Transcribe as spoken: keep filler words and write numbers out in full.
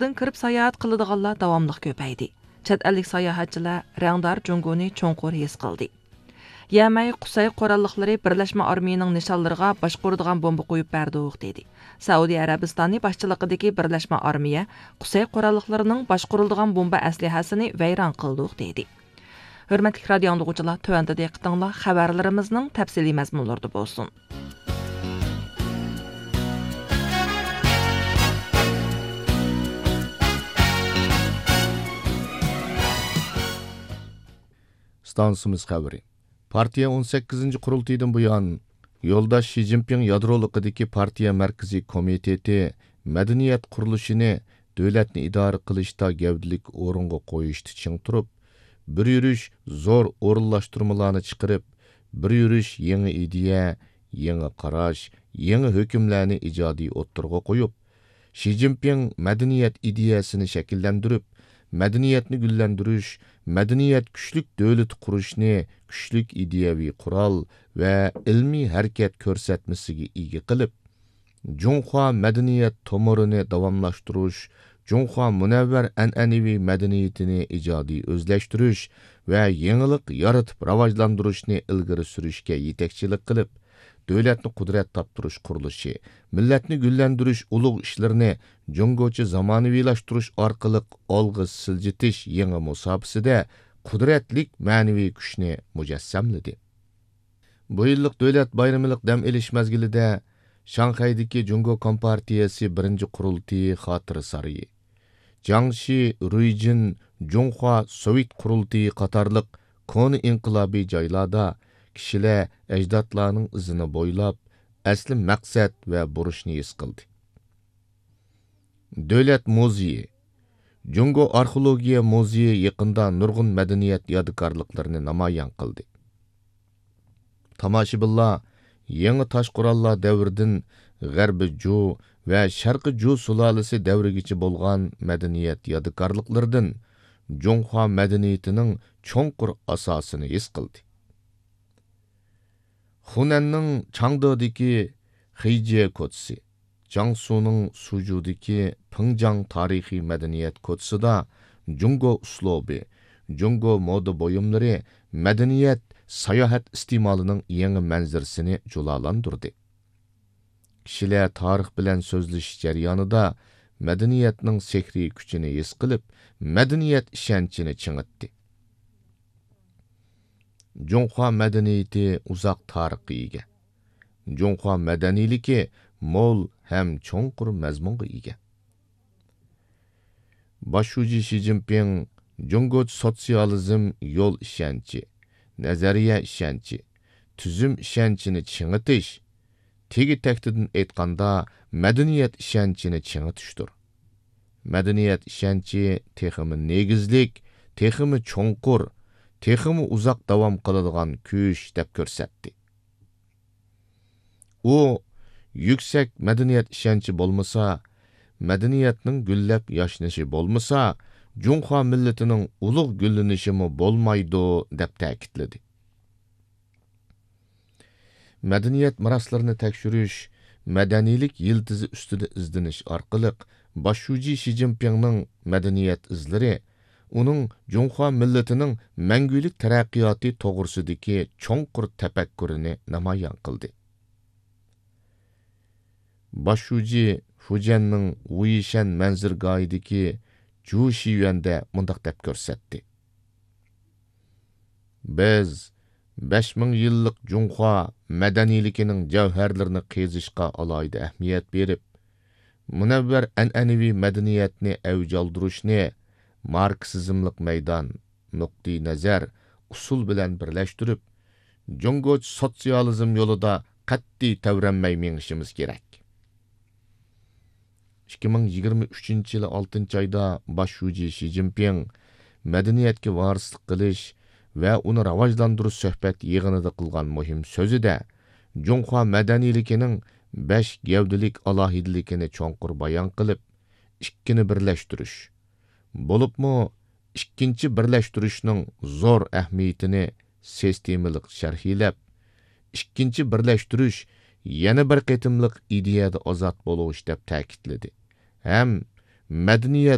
سىرتتىن كىرىپ ساياھەت قىلىدىغانلار داۋاملىق كۆپەيدى. چەت ئەللىك ساياھەتچىلەر رەڭدار جۇڭگونى چوڭقۇر ھېس قىلدى. يەمەي قۇسەي قوراللىقلىرى بىرلەشمە ئارمىيىنىڭ نىشانلىرىغا باشقۇرىدىغان بومبا قويۇپ بەردۇق، دېدى. سەئۇدى ئەرەبىستانى باشچىلىقىدىكى بىرلەشمە ئارمىيە قۇسەي قوراللىقلىرىنىڭ باشقۇرۇلىدىغان بومبا ئەسلىھەسىنى ۋەيران قىلدۇق، دېدى. ھۆرمەتلىك رادىيو ئاڭلىغۇچىلار، تۆۋەندە دىققىتىڭلار خەۋەرلىرىمىزنىڭ تەپسىلىي مەزمۇنلىرىدا بولسۇن. ئىستانسىمىز خەۋىرى. پارتىيە ئون سەككىزىنچى قۇرۇلتىيىدىن بۇيان، يولداش شى جىنپىڭ يادرولۇقىدىكى پارتىيە مەركىزىي كومىتېتى مەدەنىيەت قۇرۇلۇشىنى دۆلەتنى ئىدارە قىلىشتا گەۋدىلىك ئورۇنغا قويۇشتا چىڭ تۇرۇپ، بىر يۈرۈش زور ئورۇنلاشتۇرمىلارنى چىقىرىپ، بىر يۈرۈش يېڭى ئىدىيە، يېڭى قاراش، يېڭى ھۆكۈملەرنى ئىجادىي ئوتتۇرىغا قويۇپ، شى جىنپىڭ مەدەنىيەت ئىدىيەسىنى شەكىللەندۈرۈپ، مەدەنىيەتنى گۈللەندۈرۈش، مەدەنىيەت كۈچلۈك دۆلىتى قۇرۇشنى كۈچلۈك ئىدىيەۋى قورال ۋە ئىلمىي ھەرىكەت كۆرسەتمىسىگە ئىگە قىلىپ، جۇڭخۇا مەدەنىيەت تومۇرىنى داۋاملاشتۇرۇش، جۇڭخۇا مۇنەۋۋەر ئەنئەنىۋى مەدەنىيىتىنى ئىجادىي ئۆزلەشتۈرۈش ۋە يېڭىلىق يارىتىپ راۋاجلاندۇرۇشنى ئىلگىرى سۈرۈشكە يېتەكچىلىك قىلىپ، دۆلەتنى قۇدرەت تاپتۇرۇش قۇرۇلۇشى، مىللەتنى گۈللەندۈرۈش ئۇلۇغ ئىشلىرىنى جۇڭگوچە زامانىۋىلاشتۇرۇش ئارقىلىق ئالغا سىلجىتىش يېڭى مۇساپىسىدە قۇدرەتلىك مەنىۋى كۈچنى مۇجەسسەملىدى. بۇ يىللىق دۆلەت بايرىملىق دەم ئېلىش مەزگىلىدە شاڭخەيدىكى جۇڭگو كومپارتىيەسى بىرىنچى قۇرۇلتىيى خاتىرە سارىيى، جياڭشى، رۇيجىن، جۇڭخۇا سوۋېت قۇرۇلتىيى قاتارلىق كونا ئىنقىلابىي جايلاردا كىشىلەر ئەجدادلارنىڭ ئىزىنى بويلاپ، ئەسلى مەقسەت ۋە بۇرچنى ھېس قىلدى. دۆلەت مۇزېيى. جۇڭگو ئارخېئولوگىيە مۇزېيى يېقىندا نۇرغۇن مەدەنىيەت يادىكارلىقلىرىنى نامايان قىلدى. تاماشىبىنلار يېڭى تاش قوراللار دەۋرىدىن غەربىي جۇ ۋە شەرقىي جۇ سۇلالىسى دەۋرىگىچە بولغان مەدەنىيەت يادىكارلىقلىرىدىن جۇڭخۇا مەدەنىيىتىنىڭ چوڭقۇر ئاساسىنى ھېس قىلدى. خۇنەننىڭ چاڭدېدىكى خېيجيې كوچىسى، جياڭسۇنىڭ سۇجۇدىكى پىڭجاڭ تارىخىي مەدەنىيەت كوچىسىدا جۇڭگو ئۇسلۇبى، جۇڭگو مودا بۇيۇملىرى مەدەنىيەت، ساياھەت ئىستېمالىنىڭ يېڭى مەنزىرىسىنى جۇلالاندۇردى. كىشىلەر تارىخ بىلەن سۆزلىشىش جەريانىدا مەدەنىيەتنىڭ سېھرىي كۈچىنى ھېس قىلىپ، مەدەنىيەت ئىشەنچىنى چىڭىتتى. جۇڭخۇا مەدەنىيىتى ئۇزاق تارىخقا ئىگە. جۇڭخۇا مەدەنىيلىكى مول ھەم چوڭقۇر مەزمۇنغا ئىگە. باش شۇجى شى جىنپىڭ جۇڭگوچە سوتسىيالىزم يول ئىشەنچى، نەزەرىيە ئىشەنچى، تۈزۈم ئىشەنچىنى چىڭىتىش، تېگى تەكتىدىن ئېيتقاندا، مەدەنىيەت ئىشەنچىنى چىڭىتىشتۇر. مەدەنىيەت ئىشەنچى تېخىمۇ نېگىزلىك، تېخىمۇ چوڭقۇر، تېخىمۇ ئۇزاق داۋام قىلىدىغان كۈچ، دەپ كۆرسەتتى. ئۇ، يۈكسەك مەدەنىيەت ئىشەنچى بولمىسا، مەدەنىيەتنىڭ گۈللەپ ياشنىشى بولمىسا، جۇڭخۇا مىللىتىنىڭ ئۇلۇغ گۈللىنىشىمۇ بولمايدۇ، دەپ تەكىتلىدى. مەدەنىيەت مىراسلىرىنى تەكشۈرۈش، مەدەنىيلىك يىلتىزى ئۈستىدە ئىزدىنىش ئارقىلىق باش شۇجى شى جىنپىڭنىڭ مەدەنىيەت ئىزلىرى ئۇنىڭ جۇڭخۇا مىللىتىنىڭ مەڭگۈلۈك تەرەققىياتى توغرىسىدىكى چوڭقۇر تەپەككۇرىنى نامايان قىلدى. باش شۇجى فۇجيەننىڭ ۋۇيىشەن مەنزىرىگاھىدىكى جۇ شىيۈەندە مۇنداق دەپ كۆرسەتتى. بىز بەش مىڭ يىللىق جۇڭخۇا مەدەنىيلىكىنىڭ جەۋھەرلىرىنى قېزىشقا ئالاھىدە ئەھمىيەت بېرىپ، مۇنەۋۋەر ئەنئەنىۋى مەدەنىيەتنى ئەۋج ئالدۇرۇشنى ماركسىزملىق مەيدان، نۇقتىئىنەزەر، ئۇسۇل بىلەن بىرلەشتۈرۈپ، جۇڭگوچە سوتسىيالىزم يولىدا قەتئىي تەۋرەنمەي مېڭىشىمىز كېرەك. ئىككى مىڭ يىگىرمە ئۈچىنچى يىلى ئالتىنچى ئايدا باش شۇجى شى جىنپىڭ مەدەنىيەتكە ۋارىسلىق قىلىش ۋە ئۇنى راۋاجلاندۇرۇش سۆھبەت يىغىنىدا قىلغان مۇھىم سۆزىدە، جۇڭخۇا مەدەنىيلىكىنىڭ بەش گەۋدىلىك ئالاھىدىلىكىنى چوڭقۇر بايان قىلىپ، ئىككىنى بىرلەشتۈرۈش، بولۇپمۇ ئىككىنچى بىرلەشتۈرۈشنىڭ زور ئەھمىيىتىنى سىستېمىلىق شەرھلەپ، ئىككىنچى بىرلەشتۈرۈش يەنە بىر قېتىملىق ئىدىيەدە ئازاد بولۇش دەپ تەكىتلىدى ھەم مەدەنىيەت